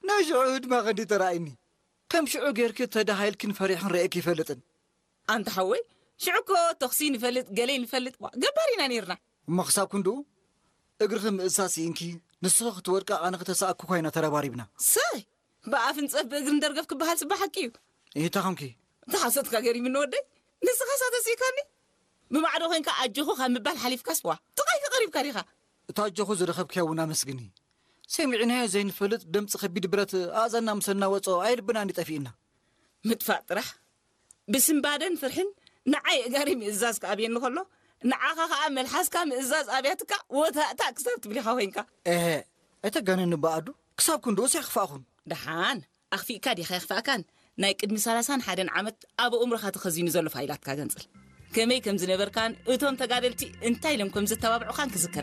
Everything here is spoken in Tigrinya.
ናይ ሽዑ ህድማ ኸንዲ ተራእይኒ። ከም ሽዑ ጌርኪ ተዳሃይልክን ፈሪሕን ረእየኪ ይፈልጥን። ኣንታ ሓወይ፣ ሽዑ እኮ ተኽሲ ንፈልጥ፣ ገለ ንፈልጥ፣ ዋ፣ ገባር ኢና ነይርና። እሞ ክሳብ ክንድኡ እግርኺ ምእዝሳስ ይእንኪ፣ ንስኺ ክትወድቂ ኣነ ክተሰኣኩ ኮይና ተረባሪብና። ሰይ! ብኣፍንጸፍ ብእግሪ እንደርገፍ ክበሃል ጽባሕ ሓቂ እዩ። ይታኸምኪ። ተሓሰትካ ገሪምኒ ወደይ። ንስኻስ ኣተሲእካኒ። ብማዕዶ ኮንካ ኣጆኹ ካብ ምባል ሓሊፍካስ ዋ ጥቓይ ከቐሪብካ ዲኻ። እታ ኣጆኹ ዝረኸብክያ እውን ኣመስግኒ። ሰሚዕናዮ ዘይንፈልጥ ድምፂ ከቢድ ብረት ኣእዛንና ምስ እናወፅኦ ኣይልብና እንዲጠፊእና። ምጥፋእ ጥራሕ። ብስምባደን ፍርሕን ንዓይ እጋሪ ምእዛዝ ክኣብየኒ ከሎ፣ ንዓኻ ኸኣ መልሓስካ ምእዛዝ ኣብያትካ ወታእታ ክሳብ ትብሊኻ ኮይንካ። እህ፣ ኣይተጋነኒ በኣዱ። ክሳብ ክንድኡስ ኣይኽፋእኹን። ደሓን ኣኽፊእካ ዲኻ የኽፋእካን? ናይ ቅድሚ ሰላሳን ሓደን ዓመት ኣብ ኣእምሮኻ ተኸዚኑ ዘሎ ፋይላትካ ገንጽል። ከመይ ከም ዝነበርካን እቶም ተጋደልቲ እንታይ ኢሎም ከም ዘተባብዑኻን ክዝከር።